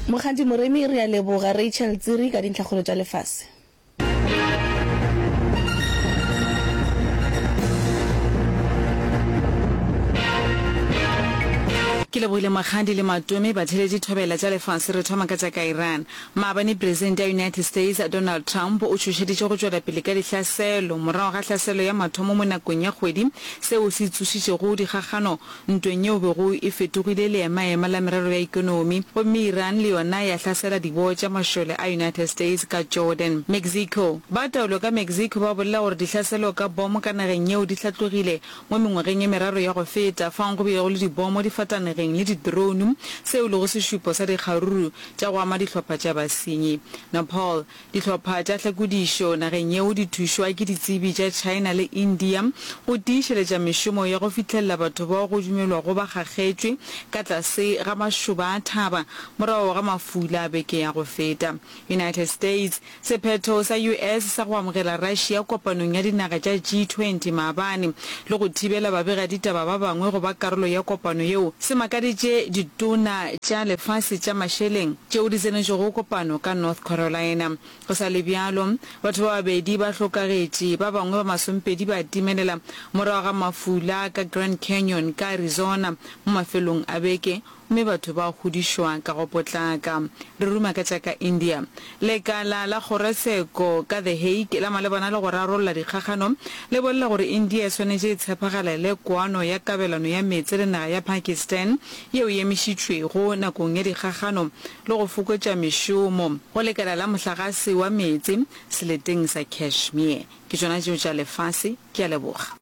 Mokgadi Moremi, Re a leboga Rachel Tsiri ka dintlhakgolo tša lefase. Ke lebogile Mokgadi le Matome, batheeletši thobela tša lefase. Re thoma ka tša ka Iran. Maabane Presidente ya United States Donald Trump o tšhošeditše go tšwela pele ka dihlaselo morago ga hlaselo ya mathomo mo nakong ya kgwedi, seo se tsošitšego dikgakgano ntweng yeo bego e fetogile leemaema la merero ya ekonomi, gomme Iran le yona ya hlasela diboo tša mašole a United States ka Jordan. Mexico. Ba taolo ka Mexico ba bolela gore dihlaselo ka bomo ka nageng yeo di hlatlogile mo mengwageng e meraro ya go feta, fao go bilego le dibomo difatanegeng le di-drone, seo e lego sešupo sa dikgaruru tša go ama dihlopha tša basenyi. Nepal. Dihlopha tša hlakodišo nageng yeo di thušwa ke ditsebi tša China le India go tiišeletša mešomo ya go fihlelela batho bao go dumelwago ba kgakgetšwe ka tlase ga mašoba a thaba morago ga mafula a beke ya go feta. United States, Sephetho sa US sa go amogela Russia kopanong ya dinaga tša G20 maabane le go thibela babegaditaba ba bangwe go ba karolo ya kopano yeo se makaditše ditona tša lefase tša mašeleng tšeo di tsenetšego kopano ka North Carolina. Go sa le bjalo, batho ba babedi ba hlokagetše, ba bangwe ba masompedi ba timelela morago ga mafula ka Grand Canyon ka Arizona mo mafelong a beke, gomme batho ba hudišwa ka go potlaka. Re ruma ka tša ka India. Lekala la kgorotsheko ka The Hague la malebana le go rarolla dikgakgano le bolela gore India e swanetše e tshephagalele kwano ya kabelano ya meetse le naga ya Pakistan yeo e emišitšwego nakong ya dikgakgano le go fokotša mešomo go lekala la mohlagase wa meetse seleteng sa Kashmir. Ke tšona tšeo tša lefase. Ke a leboga.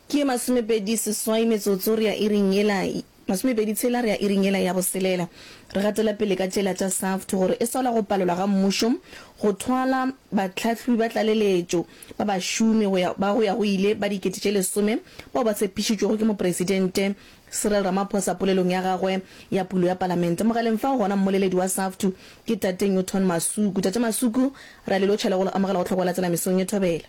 Ke 28 metsotso re ya iring yela, 27 re ya iring yela ya boselela. Re gatela pele ka tšela tša SAFTU gore e sola go palelwa ga mmušo go thwala bahlahlobi ba tlaleletšo ba bašomi go ya ba go ya go ile ba 10,000 bao ba tshepišitšwego ke Mopresidente Cyril Ramaphosa polelong ya gagwe ya pulo ya palamente. Mogaleng fao gona mmoleledi wa SAFTU ke Tate Newton Masuku. Tate Masuku, re a le lotšha le go le amogela go Tlhokwa la Tsela mesong ye thobela.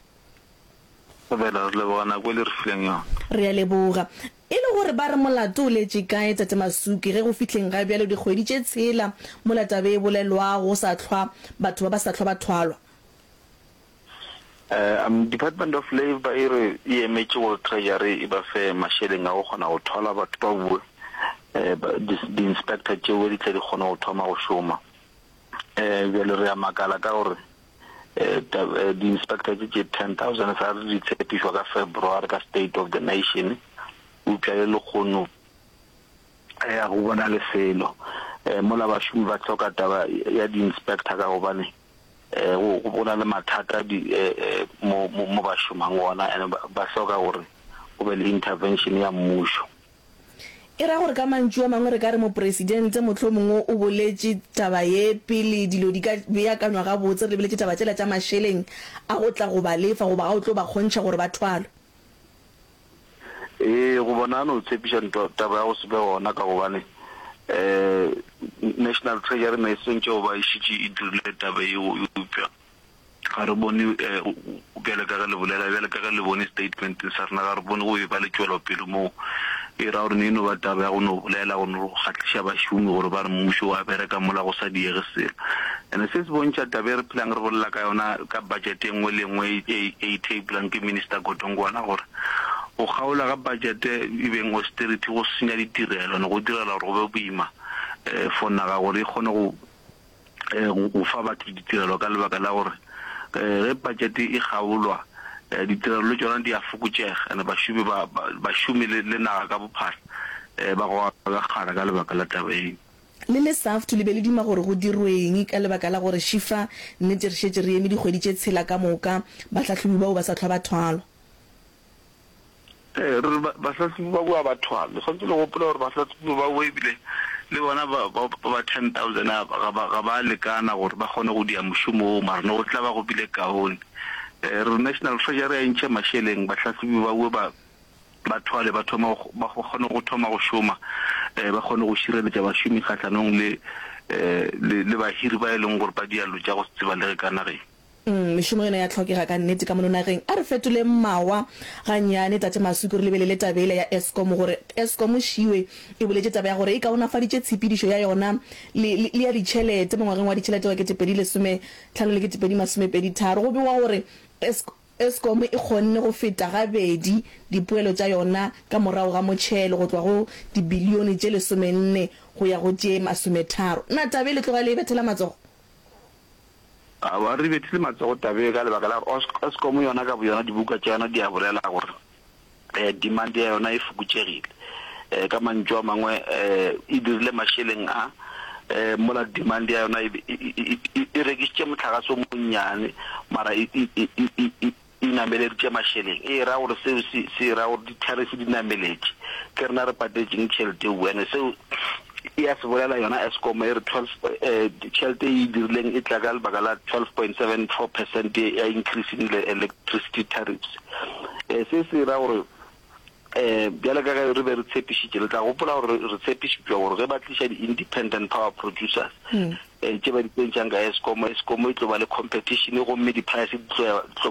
Thobela, re leboga nako e le re fileng yona. Re a leboga. E le gore ba re molato o letše kae Tate Masuku ge go fihleng ga bjalo dikgwedi tše tshela mola taba e bolelwago go sa hlwa batho ba ba sa hlwa ba thwalwa? Um Department of Labour e re e emetše gore Treasury e ba fe mašeleng a go kgona go thwala batho ba bue, di-inspector tšeo di tle di kgone go thoma go šoma. Um bjale re a makala ka gore di-inspector tše tše 10,000 sa re di tshepišwa ka February ka State of the Nation, eupša le lekgono ga go bonale selo. Mola bašomi ba hloka taba ya di-inspector ka gobane Go, go na le mathata di, mo, mo, mo ba šomang gona, and ba, ba hloka gore go be le intervention ya mmušo. E ra gore ka mantšu a mangwe re ka re Mopresidente mohlomongwe o boletše taba ye pele dilo di ka beakanywa gabotse, re lebeletše taba tšela tša mašeleng a go tla go ba lefa goba a o tlo ba kgontšha gore ba thwalwe. Ee, go bona a no tshepiša ntwa, taba ya go se be gona ka gobane um National Treasury ne e swantše go ba e šetše e dirile taba yeo, eupša ga re bone um bjale ka ge le bolela, bjale ka ge le bone statementeng sa rena, ga re bone go e ba le tšwelopele moo. E ra gore ne e no ba taba ya go no bolela, go no kgahliša bašomi gore ba re mmušo o a bereka mola go sa diege selo. And se se bontšha taba e re phelang re bolela ka yona ka budget e nngwe le e nngwe e e tableang ke Minister Godongwana gore go kgaola ga budget e beng austerity go senya ditirelo and go direla gore go be boima for naga gore e kgone go go fa batho ditirelo ka lebaka la gore ge budget e kgaolwa ditirelo le tšona di a fokotšega and bašomi ba bašomi le naga ka bophara ba goga ka kgara ka lebaka la taba yeo. Le le SAFTU le be le duma gore go dirweng ka lebaka la gore šifa nnete re šetše re eme dikgwedi tše tshela ka moka bahlahlobi bao ba sa hlwa ba thwalwa? Ee, re re bahlahlobi ba boa ba thwalwe. Le swanetše le gopole gore bahlahlobi ba boa ebile le bona ba ba ba 10,000 a ga ba ga ba lekana gore ba kgone go dia mošomo woo, mara ne go tla ba go bile kaone. Re re National Treasury a e ntšhe mašeleng bahlahlobi ba boe ba ba thwale ba thoma go, ba kgone go thoma go šoma, eh, ba kgone go šireletša bašomi kgahlanong le, eh, le, le bahiri ba e leng gore ba diallo tša go se tsebalege ka nageng. Umm mešomo yona ya hlokega ka nnete ka mono nageng. A re fetoleng mawa gannyane Tate Masuku re lebelele taba yela ya Eskom gore Eskom šiwe e boletše taba ya gore e kaonafaditše tshepedišo ya yona le, le, le ya ditšhelete mo ngwageng wa ditšhelete wa 2015 le 2023. Go begwa gore Eskom e kgonne go feta gabedi dipoelo tša yona ka morago ga motšhelo go tloga go dibilione tše lesomenne go ya go tše masometharo. Na taba e le tloga le e bethela matsogo? Aowa, re bethile matsogo tabeng ka lebaka la gore Eskom yona ka boyona dibuka tša yona di a bolela gore demand ya yona e fokotšegile. Ka mantšu a mangwe e dirile mašeleng a mola demand ya yona e rekišitše mohlagase o monnyane mara e e nameleditše mašeleng. E ra gore seo se, se ra gore di-tariff di nameletše. Ke rena re patetšeng tšhelete eo. And seo e a se bolela yona Eskom e re 12, eh, tšhelete e e dirileng e tla ka lebaka la 12.74 percent ya increase in the electricity tariffs. Eh, se se ra gore eh, bjale ka ge re be re tshepišitše, le tla gopola gore re tshepišitšwe gore ge ba tliša di-independent power producers mm. eh, tše ba di tsentšang ka Eskom, Eskom e tlo ba le competition gomme di-price di tlo ya, di tlo.